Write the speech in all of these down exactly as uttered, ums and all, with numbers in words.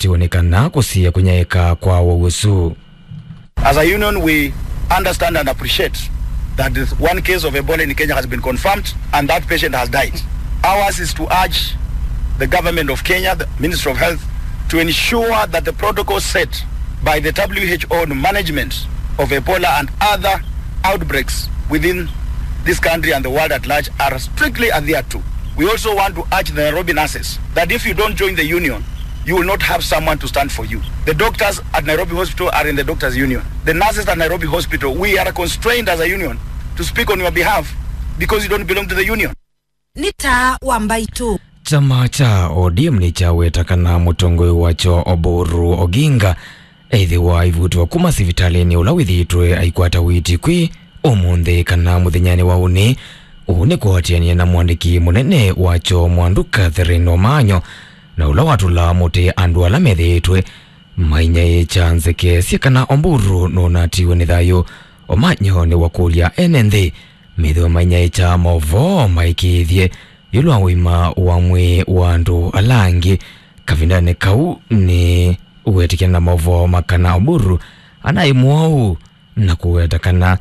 tiwonekana kũsiĩa kũnyaĩĩka kwa ũwau ũsu. As a union, we understand and appreciate that this one case of Ebola in Kenya has been confirmed and that patient has died. Ours is to urge the government of Kenya, the Ministry of Health, to ensure that the protocols set by the W H O on management of Ebola and other outbreaks within this country and the world at large are strictly adhered to. We also want to urge the Nairobi nurses that if you don't join the union, you will not have someone to stand for you. The doctors at Nairobi Hospital are in the doctors' union. The nurses at Nairobi Hospital, we are constrained as a union to speak on your behalf because you don't belong to the union. Nĩ taa wa mbaitũ. Kyama kya O D M nĩkyaweta kana mũtongoi wakyo Oburu Oginga ethĩwa aivutwa kuma sivitalĩnĩ ũla wĩthĩĩtwe aikwata ũiiti kwĩ ũmũnthĩ kana mũthenyanĩ wa ũnĩ. Ũu nĩ kũatĩanĩa na mũandĩki mũnene wakyo Mwandu Catherine Omanyo, na ũla watũlaa mũtĩ andũ ala methĩĩtwe mainyaĩĩkya nzeke syĩ kana Oburu nũnatiwe nĩ thayũ. Omanyo nĩwakũlya ene nthĩ methĩwe mainyaĩĩkya maũvoo maĩkĩĩthye ĩũlũ wa ũima wa mwĩĩ wa andũ ala angĩ. Kavindanĩ kau nĩ wetĩkĩlana na maũvoo ma kana Oburu anaĩ mwaũ na kũweta kana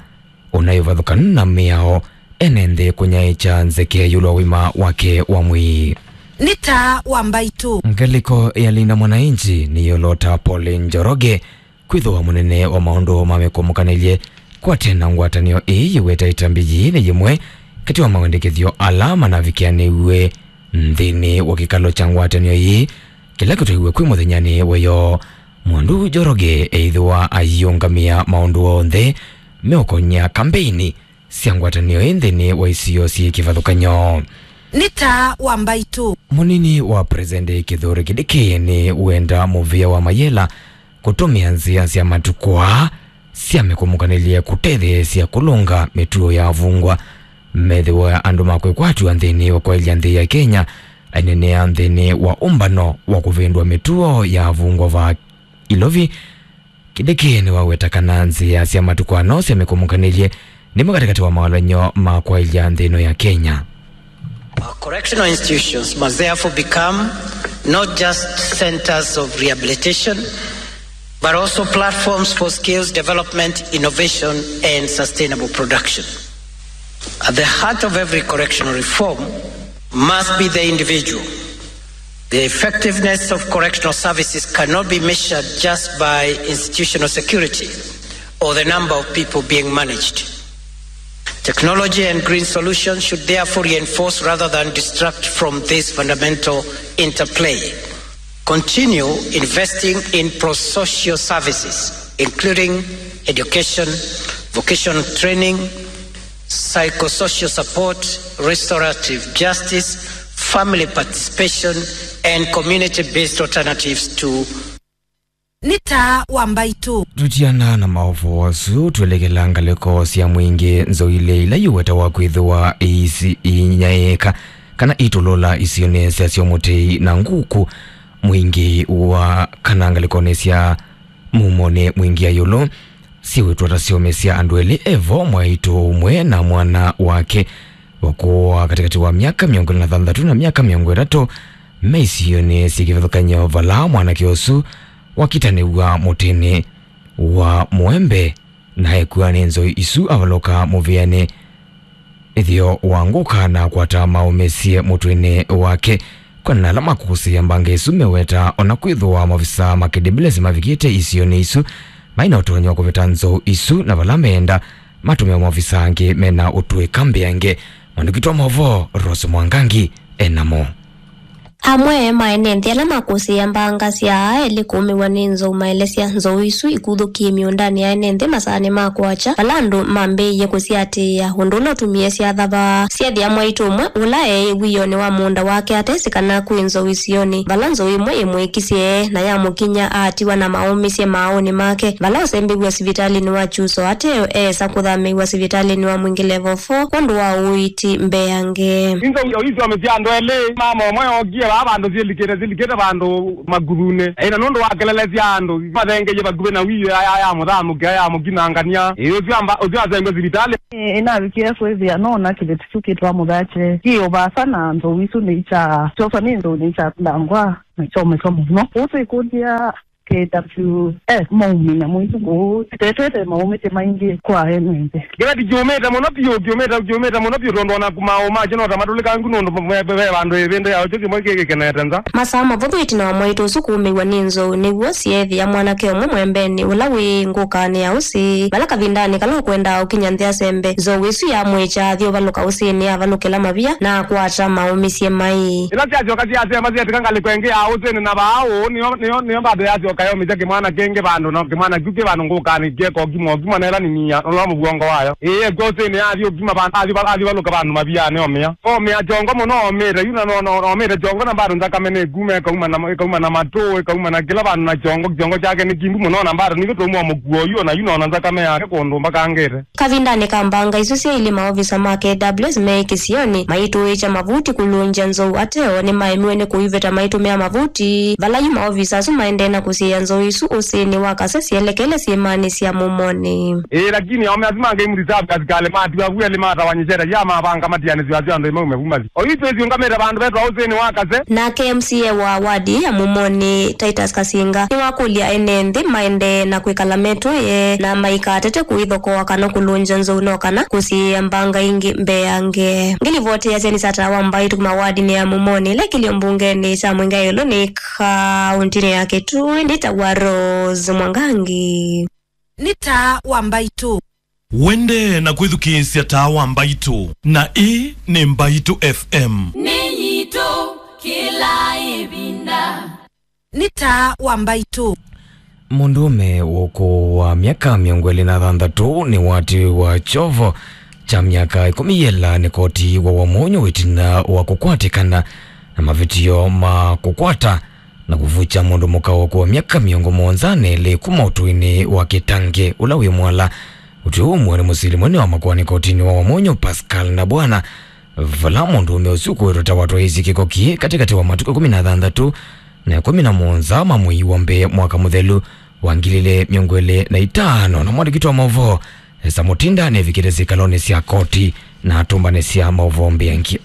ũnaĩ ũvathũkanu na mĩao ene nthĩ kũnyaĩĩkya nzeke ĩũlũ wa ũima wake wa mwĩĩ. Nĩ taa wa mbaitũ. Ngalĩko ya Linda Mwananchi nĩyolota Paul Njoroge kwĩthĩwa mũnene wa maũndũ ma mĩkũmũkanĩlye kwatena ngwatanĩo ĩĩ yĩweta ĩtambi yĩĩ nĩ yĩmwe katĩ wa mawendekethyo ala manavikĩanĩw'e nthĩnĩ wa kĩkalo kya ngwatanĩo yĩĩ kĩla kĩtwaiwe kwĩ mũthenyanĩ weyo. Mwandu Njoroge eĩthĩwa aiũngamĩa maũndũ onthe meũkony'a kambeini sya ngwatanĩo ĩ nthĩnĩ wa isio syĩ kĩvathũkany'o. Nĩ taa wa mbaitũ. Mũnini wa President Kithure Kindiki nĩ wenda mũvĩa wa mayela kũtũmĩa nzĩa sya matukũ aa sya mĩkũmũkanĩlye kũtetheesya kũlũnga mĩtuo ya avungwa. Methĩwa andũ ma kwĩkwatw'a nthĩnĩ wa kwaĩlya nthĩ ya Kenya, ainenea nthĩnĩ wa ũmbano wa kũvĩndũa mĩtuo ya avungwa va Ilovi, Kindiki nĩwaweta kana nzĩa sya matukũ ano sya mĩkũmũkanĩlye nĩmo katĩkatĩ wa mawalany'o ma kwaĩlya nthĩ ĩno ya Kenya. Our correctional institutions must therefore become not just centers of rehabilitation, but also platforms for skills development, innovation, and sustainable production. At the heart of every correctional reform must be the individual. The effectiveness of correctional services cannot be measured just by institutional security or the number of people being managed. Technology and green solutions should therefore reinforce rather than distract from this fundamental interplay. Continue investing in pro-social services, including education, vocational training, psychosocial support, restorative justice, family participation, and community-based alternatives to. Nĩ taa wa mbaitũ. Tũtiana na maũvoo asu, twelekela ngalĩko sya mwingĩ nzoilĩ ila iwetawa kwĩthĩwa iisi inyaĩĩka kana itũlũla isionĩ sya Syomũtei na Nguku. Mwingĩ wa kana ngalĩkonĩ sya mumonĩ mwingĩ ya ĩũlũ, syĩwĩtwa ta syomesya andũ elĩ evo, mwaitũ ũmwe na mwana wake, ũkũũ wa katĩkatĩ wa myaka mĩongo ĩlĩ na thanthatũ na myaka mĩongo ĩtatũ, me isionĩ syĩ kĩvathũkany'o vala mwanake ũsu wakitanĩw'a mũtĩnĩ wa mũembe na ekw'a nĩ nzoi isu avalũka mũvĩanĩ. Ĩtheo wa ngũka na akwata maũmĩsye mũtw'ĩnĩ wake. Kwĩanana na ala makũsĩĩa mbanga ĩsu meweta, ona kwĩthĩwa maovisaa ma K W S mavikĩte isionĩ isu, mai na ũtonyi wa kũveta nzou isu, na vala meenda matũmĩe maovisaa angĩ mena ũtũĩka mbeange. Mwandĩki witũ wa maũvoo Rose Mwangangi enamo. Amwe ma ene nthĩ ala makũsĩĩa mbanga sya aa elĩ kũũmĩw'a nĩ nzou maelesya nzou isu ikuthũkie mĩũndanĩ ya ene nthĩ masaanĩ ma kwakya, vala andũ mambĩĩie kũsiatĩĩa ũndũ ũla ũtumie syathava. Syethĩa mwaitũ ũmwe ũla eĩ wĩonĩ wa mũũnda wake atesĩ kana kwĩ nzou isionĩ, vala nzou ĩmwe ĩmwĩkisye na yamũkinya aatiwa na maũmĩsye maaũnĩ make, vala ũsembĩw'a sivitalĩnĩ wa Kyuso ateo eesa kũthamĩĩw'a sivitalĩnĩ wa Mwingĩ Level four kwondũ wa ũiiti mbeange. Nzou isu syomesya andũ elĩ, mama ũmwe ookie Vaa vandũ syĩlikĩte, syĩlikĩte vandũ makuthunĩ. Ĩĩ, na nũndũ wa kelele sya andũ, mathengeie vakuvĩ na wĩĩ ya, ya, ya mũthamũkĩa, ya mũkinangania. Ĩĩ, ũsu amba, ũsu asengwe sivitalĩ. Ĩĩ, ĩnavikĩe kwĩthĩa nona kĩveti kĩu kĩtwa mũthakye. Kĩ o vaasa na nzou isu nĩikya, kyosa nĩ nzou nĩikya kũlangwa na kyomeswa mũno. Ũsu ĩkũlya K W S maumina mũitu kũu, tetwete maumĩte maingĩ kwa ene nthĩ. Kĩveti kyũmĩte mũno piũ, kyũmĩte, kyũmĩte mũno piũ, tondũ ona maũũ makyo no ta matũlĩkangu, nũndũ ve, ve, ve vandũ ĩvĩndũ ya ũkyo kĩmwe kĩkĩkenete nza. Masaa mavũthũ ĩtina wa mwaitũ ũsu kũũmĩw'a nĩ nzou, nĩw'o syeethĩa mwanake ũmwe mwembenĩ ũla wĩ ngũkanĩ ya ũsĩ, vala kavindanĩ kala ũkwendaa ũkinya nthĩ asembe, nzou ĩsu yamwĩkya athi ũvalũka ũsĩnĩ, avalũkĩla mavia na akwata maũmĩsye mai. Ĩla syasyoka syasemba syetĩka ngalĩko ĩngĩ ya ũsĩnĩ, na vaa ũũ nĩyo, nĩyo, nĩyo mbado yasyoka yomĩsya kĩmwana kĩngĩ vandũ, na kĩmwana kĩu kĩ vandũ ngũkanĩ kĩeka ũkima, ũkima na ĩla nini ya, ũla mũvuongo wayo. Ĩĩ, ĩkw'a ũsĩnĩ yathi ũkima vandũ, athi va-, athi valũka vandũ mavianĩ omĩa. Omĩa kyongo mũno omĩte, yu na, no, no, omĩte kyongo na mbado nthakame nĩkuma, ĩkauma na, ĩkauma na matũ, ĩkauma na kĩla vandũ na kyongo, kyongo kyake nĩ kimbu mũno, na mbado nĩkĩtũmwa mũkuo yu, na yu nona nthakame yake kũndũ mbakangĩte. Kavindanĩ ka mbanga isu syailĩ, maovisa ma K W S me kĩsionĩ maitũĩkya mavuti kũlũngya nzou ateo nĩmaemiwe nĩ kũiveta maitũmĩa mavuti, vala yu maovisa asu maendee na kũsiĩĩa nzou isu ũsĩnĩ wa Kase syelekele syĩmanĩ sya Mũmonĩ. Ĩĩ, lakini aũme asu ma Game Reserve asikalĩ matiwa vu elĩ matawanyĩsye ĩtalĩ ya mavanga matianĩsyo asu andũ maume vu mathi. Oyu twĩsiũngamĩte vandũ vetwa ũsĩnĩ wa Kase. Nake M C A wa wadi ya Mũmonĩ, Titus Kasinga, nĩwakũlya ene nthĩ maendee na kwĩkala metũĩe na maikatete kũithokoa kana kũlũngya nzou no kana kũsiĩĩa mbanga ingĩ mbeange. Ngĩlivoti ya Jenny Sata wa Mbaitũ kuma wadinĩ ya Mũmonĩ ĩla ĩkĩlyo mbungenĩ kya Mwingaĩlo nĩ kaũntĩnĩ ya Kitui, nĩtawa Rose Mwangangi. Nĩ Taa wa Mbaitũ. Wendee na kwĩthukĩĩsya Taa wa Mbaitũ, na ĩĩ nĩ Mbaitũ F M. Nĩ yitũ kĩla ĩvinda. Nĩ Taa wa Mbaitũ. Mũndũũme wa ũkũũ wa myaka mĩongo ĩlĩ na thanthatũ nĩwatiwa kyovo kya myaka ĩkũmi yĩla nĩ koti wa Wamunyu ĩtina wa kũkwatĩkana na mavĩtyo ma kũkwata na kũvukya mũndũ mũka wa ũkũũ wa myaka mĩongo mũonza na ĩlĩ kuma ũtũinĩ wa Kĩtangĩ ũla wĩ Mwala. Ũtwi ũũ ũmwe nĩ mũsili mũnene wa makoani kotinĩ wa Wamunyu, Pascal Nabwana, vala mũndũũme ũsu ũkũĩtwe ta watwaĩĩsye kĩko kĩĩ katĩkatĩ wa matukũ ĩkũmi na thanthatũ na ĩkũmi na mũonza ma mwei wa mbee mwaka mũthelu wa ngili ilĩ mĩongo ĩlĩ na itano, na mwandĩki wa maũvoo Esther Mutinda nevikĩte sikalonĩ sya koti na atũmbanĩsya maũvoo mbeange.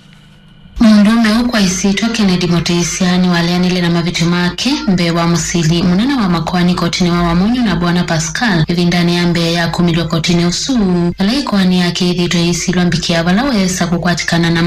Mũndũũme ũũ kwa ĩsyĩtwa Kennedy Mũtĩsya nĩwaleanile na mavĩtyo make mbee wa mũsili mũnene wa makoani kotinĩ wa Wamunyu, Nabwana Pascal, ĩvindanĩ ya mbee ya kũmĩlw'a kotinĩ ũsu, vala ĩkoani yake yĩthĩĩtwe yĩsilwa mbikĩa vala weesa kũkwatĩkana na